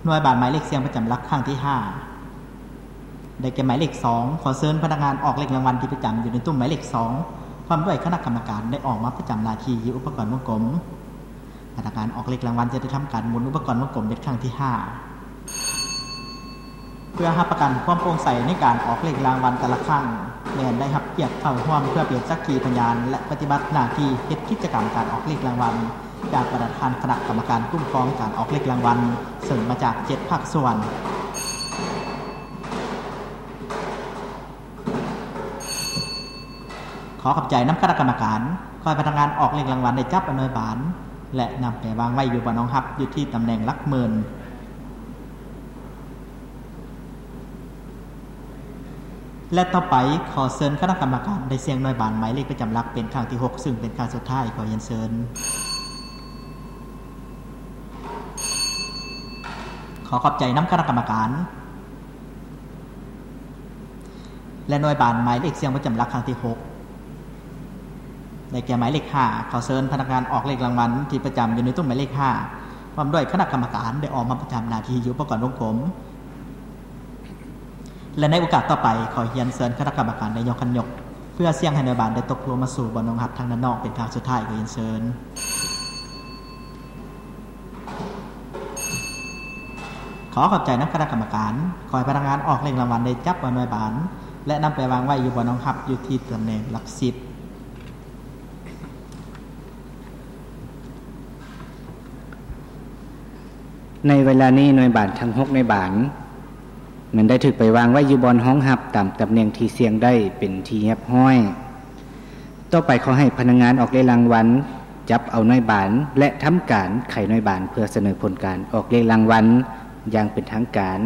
ໜ່ວຍບານໝາຍເລກສ່ຽງປະຈຳຫຼັກຄັ້ງທີຫ້າ ໄດ້ແກ່ໝາຍເລກສອງ. ຂໍເຊີນພະນັກງານອອກເລກລາງວັນທີ່ປະຈຳຢູ່ໃນຕຸ້ມໝາຍເລກສອງ ພ້ອມດ້ວຍຄະນະກຳມະການ ໄດ້ອອກມາປະຈຳໜ້າທີ່ຢູ່ອຸປະກອນວົງກົມ. ພະນັກງານອອກເລກລາງວັນຈະໄດ້ທຳການໝູນອຸປະກອນວົງກົມເປັນຄັ້ງທີຫ້າ ເພື່ອຮັບປະກັນຄວາມໂປ່ງໃສໃນການອອກເລກລາງວັນແຕ່ລະຄັ້ງ ແລະ ໄດ້ຮັບກຽດເຂົ້າຮ່ວມເພື່ອເປັນສັກຂີພະຍານ ແລະ ປະຕິບັດໜ້າທີ່ເຮັດກິດຈະກຳການອອກເລກລາງວັນ ຈາກປະທານຄະນະກຳມະການຄຸ້ມຄອງການອອກເລກລາງວັນ ເຊິ່ງມາຈາກເຈັດພາກສ່ວນ. ຂໍຂອບໃຈນຳຄະນະກຳມະການ. ຂໍໃຫ້ພະນັກງານອອກເລກລາງວັນໄດ້ຈັບເອົາໜ່ວຍບານ ແລະ ນຳໄປວາງໄວ້ຢູ່ບ່ອນຮອງຮັບຢູ່ທີ່ຕຳແໜ່ງຫຼັກໝື່ນ. ແລະ ຕໍ່ໄປ ຂໍເຊີນຄະນະກຳມະການໄດ້ສ່ຽງໜ່ວຍບານໝາຍເລກປະຈຳຫຼັກເປັນຄັ້ງທີຫົກ ຊຶ່ງເປັນຄັ້ງສຸດທ້າຍ. ຂໍຮຽນເຊີນ. ຂໍຂອບໃຈນຳຄະນະກຳມະການ. ແລະ ໜ່ວຍບານໝາຍເລກສ່ຽງປະຈຳຫຼັກຄັ້ງທີຫົກ ໄດ້ແກ່ໝາຍເລກຫ້າ. ຂໍເຊີນພະນັກງານອອກເລກລາງວັນທີ່ປະຈຳຢູ່ໃນຕຸ້ມໝາຍເລກຫ້າ ພ້ອມດ້ວຍຄະນະກຳມະການ ໄດ້ອອກມາປະຈຳໜ້າທີ່ຢູ່ອຸປະກອນວົງກົມ. ແລະ ໃນໂອກາດຕໍ່ໄປ ຂໍຮຽນເຊີນຄະນະກຳມະການໄດ້ຍົກຂັນຍົກ ເພື່ອສ່ຽງໃຫ້ໜ່ວຍບານໄດ້ຕົກລົງມາສູ່ບ່ອນຮອງຮັບທາງດ້ານນອກເປັນຄັ້ງສຸດທ້າຍ. ຂໍຮຽນເຊີນ. ຂໍຂອບໃຈນຳຄະນະກຳມະການ. ຂໍໃຫ້ພະນັກງານອອກເລກລາງວັນໄດ້ຈັບເອົາໜ່ວຍບານ ແລະ ນຳໄປວາງໄວ້ຢູ່ບ່ອນຮອງຮັບຢູ່ທີ່ຕຳແໜ່ງຫຼັກສິບ. ໃນເວລານີ້ໜ່ວຍບານທັງຫົກໜ່ວຍບານ ແມ່ນໄດ້ຖືກໄປວາງໄວ້ຢູ່ບ່ອນຮອງຮັບຕາມຕຳແໜ່ງທີ່ສ່ຽງໄດ້ເປັນທີ່ຮຽບຮ້ອຍ. ຕໍ່ໄປຂໍໃຫ້ພະນັກງານອອກເລກລາງວັນຈັບເອົາໜ່ວຍບານ ແລະ ທຳການໄຂໜ່ວຍບານເພື່ອສະເໜີຜົນການອອກເລກລາງວັນຢ່າງເປັນທາງການ.